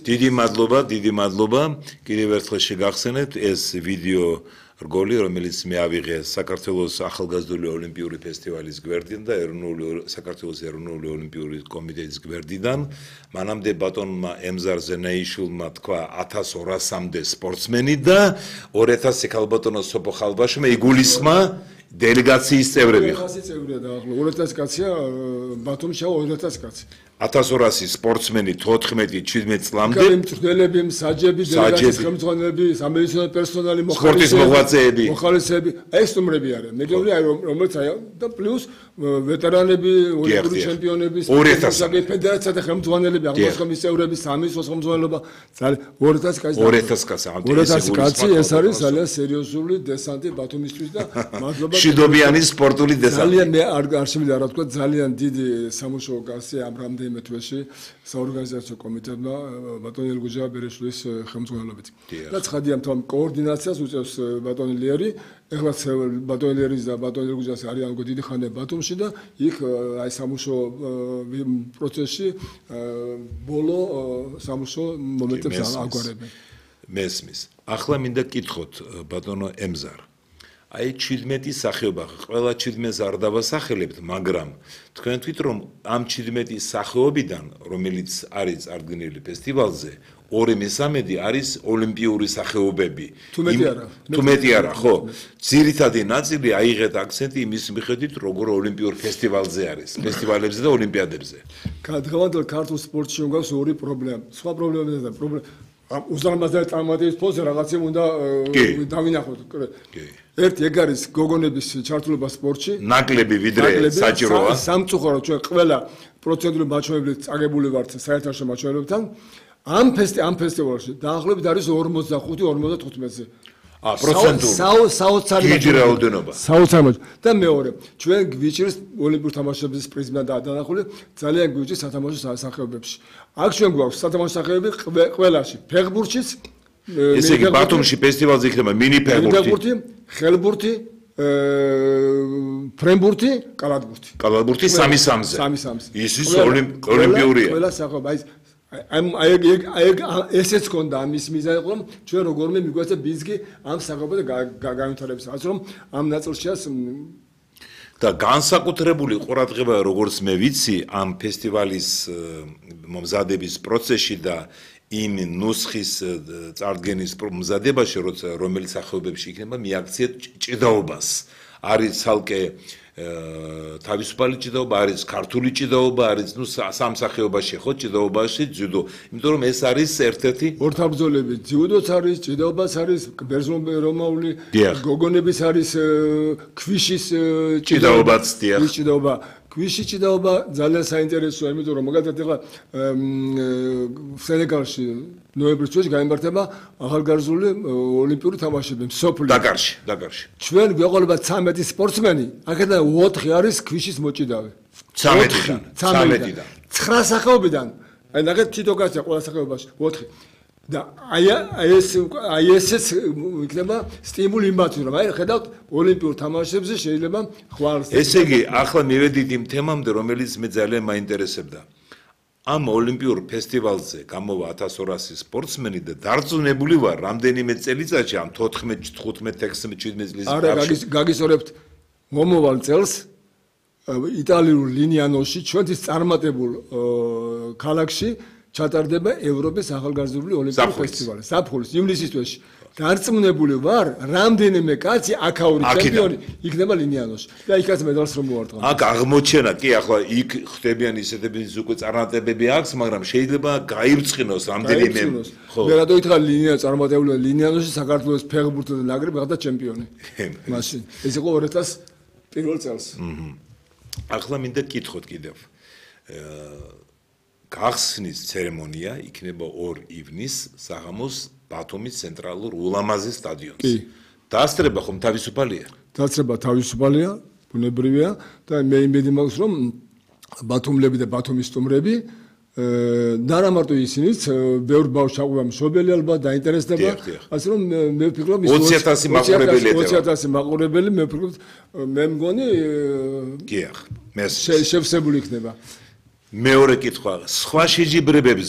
დიდი მადლობა. Კიდევ ერთხელ შეგახსენებთ ეს ვიდეო რგოლი, რომელიც მე ავიღე საქართველოს ახალგაზრდული ოლიმპიური ფესტივალის გვერდიდან და საქართველოს ეროვნული ოლიმპიური კომიტეტის გვერდიდან. მანამდე ბატონმა ემზარ ზენაიშვილმა თქვა 1200-მდე სპორტსმენი და 2000 ქალბატონო სოფო ხალბაშმა იგულისხმა დელეგაციის წევრები. 2000 წევრია და ახლა 2000 კაცია ბათუმში 2000 კაცი. 1200 სპორტსმენი 14-17 წლამდე მწვრთნელები, მსაჯები, დელეგაციის ხელმძღვანელები, სამედიცინო პერსონალი, სპორტის მოღვაწეები, ეს ნომრები არიან. მეგობრები, რომელიც და პლუს ვეტერანები, ოლიმპიური ჩემპიონები, სპორტის ფედერაცია და ხელმძღვანელები, აღმოსხმის წევრები, სამინისტროს ხელმძღვანელობა, 2000 კაცი. 2000 კაცი, ეს არის ძალიან სერიოზული დესანტი ბათუმისთვის და მადლობა. შიდობიანი სპორტული დესანტი. ძალიან მე არ შემიძლია რა თქვა, ძალიან დიდი სამუშაო გასწია ამ რამდენიმე თვეში საორგანიზაციო კომიტეტმა ბატონ ელგუჯა ბერეშვილის ხელმძღვანელობით. და ცხადია თვითონ კოორდინაციას უწევს ბატონი ლიერი, ეხლა ბატონი ლიერის და ბატონი ელგუჯას არიან დიდი ხანია ბათუმში და იქ აი სამუშაო პროცესში ბოლო სამუშაო მომენტებს აგვარებენ. მესმის. ახლა მინდა კითხოთ ბატონო ემზარ. აი 17 სახეობა, ყველა 17-ს არ დავასახელებთ, მაგრამ თქვენ თვით რომ ამ 17 სახეობიდან, რომელიც არის წარდგენილი ფესტივალზე, 2/3 არის ოლიმპიური სახეობები. თუ მეტი არა, ხო? ძირითადი ნაწილი აიღეთ აქცენტი იმის მიხედვით, როგორ ოლიმპიურ ფესტივალზე არის, ფესტივალებზე და ოლიმპიადებზე. დღევანდელ ქართულ სპორტში გვაქვს ორი პრობლემა. სხვა პრობლემებია და პრობლემა უზარმაზარი წარმატების ფონზე რაღაცა უნდა დავინახოთ. ერთი ეგ არის გოგონების ჩართულობა სპორტში. ნაკლები ვიდრე საჭიროა. სამწუხაროდ ჩვენ ყველა პროცედურული მაჩვენებლით წაგებული ვართ საერთაშორისო მაჩვენებლებთან. ამ ფესტივალში დაახლოებით არის 45-55-ზე. პროცენტული. საოცარი რაოდენობა. და მეორე, ჩვენ გვიჭირს ოლიმპიურ თამაშების პრიზმიდან დანახული, ძალიან გვიჭირს სათამაშო სახეობებში. აქ ჩვენ გვაქვს სათამაშო სახეობები ყველაში, ფეხბურთშიც, ესე იგი ბათუმში ფესტივალზე იქნება მინი ფეხბურთი, ხელბურთი, ფრენბურთი, კალათბურთი. კალათბურთი 3-3-ზე. 3-3-ზე. ის ოლიმპიურია. ყველა სახეობა ესეც ქონდა ამის მიზანი, რომ ჩვენ როგორმე მიგვეცა ბიზგი ამ სახეობათა განვითარების. ასე რომ ამ ნაწილშიაც და განსაკუთრებული ყურადღება, როგორც მე ვიცი, ამ ფესტივალის მომზადების პროცესში და იმ ნუსხის წარდგენის მომზადებაში, რომელიც სახეობებში იქნება, მიაქციეთ ჭიდაობას. არის ცალკე თავისუფალი ჭიდაობა, არის ქართული ჭიდაობა, არის სამ სახეობაში ხო ჭიდაობაში ძიუდო. იმიტომ რომ ეს არის ერთ-ერთი ორთაბრძოლები, ძიუდოც არის, ჭიდაობაც არის, ბერძნულ-რომაული, გოგონების არის, ქვიშის ჭიდაობაც დიახ. ქვიშის ჭიდაობა ძალიან საინტერესოა, იმიტომ რომ მაგალითად ეხლა სენეგალში ნოემბრის თვეში გამართება ახალგაზრდული ოლიმპიური თამაშები მსოფლიო დაკარში. ჩვენ გვეყოლება 13 სპორტსმენი, აქედან 4 არის ქვიშის მოჭიდავე. 13-დან. 9 სახეობიდან. აი ნახეთ თითო კაცია ყველა სახეობაში 4. და აი ესეც იქნება სტიმული იმათთვის, რომ აი ხედავთ ოლიმპიურ თამაშებზე შეიძლება ხვალ. ესე იგი, ახლა მივედით იმ თემამდე, რომელიც მე ძალიან მაინტერესებდა. ამ ოლიმპიურ ფესტივალზე გამოვა 1200 სპორტსმენი და დარწმუნებული ვარ, რამდენიმე წელიწადში ამ 14, 15, 16, 17 წლის ბავშვი გაგისწორებთ მომავალ წელს იტალიურ ლინიანოში ჩვენთვის წარმატებულ ქალაქში ჩატარდება ევროპის ახალგაზრდული ოლიმპიური ფესტივალი. ზაფხულის ივნისის თვეში. დარწმუნებული ვარ, რამდენიმე კაცი აქაური ჩემპიონი იქნება ლინიანოში. და იქაც მედალს რომ მოვარტყამ. აქ აღმოჩენა, კი ახლა იქ ხდებიან ისეთები უკვე წარმატებები აქვს, მაგრამ შეიძლება გაირწინოს რამდენიმე. მე რატო ითხრა ლინია წარმატებულია ლინიანოში საქართველოს ფეხბურთის ნაკრები გახდა ჩემპიონი. მაშინ ეს იყო 2001 წელს. ახლა მინდა კითხოთ კიდევ. გახსნის ცერემონია იქნება 2 ივნისს საღამოს ბათუმის ცენტრალურ ულამაზე სტადიონზე. დასწრება ხომ თავისუფალია? დასწრება თავისუფალია, ბუნებრივია და მე იმედი მაქვს რომ ბათუმლები და ბათუმის სტუმრები და რა მარტო ისინიც ბევრ ბავშვს აყვება მშობელი ალბათ დაინტერესდება. ასე რომ მე ვფიქრობ 20,000 მაყურებელი მე ვფიქრობ მე მგონი გიახ მე შევსებული იქნება. მეორე კითხვა, სხვა შეჯიბრებებს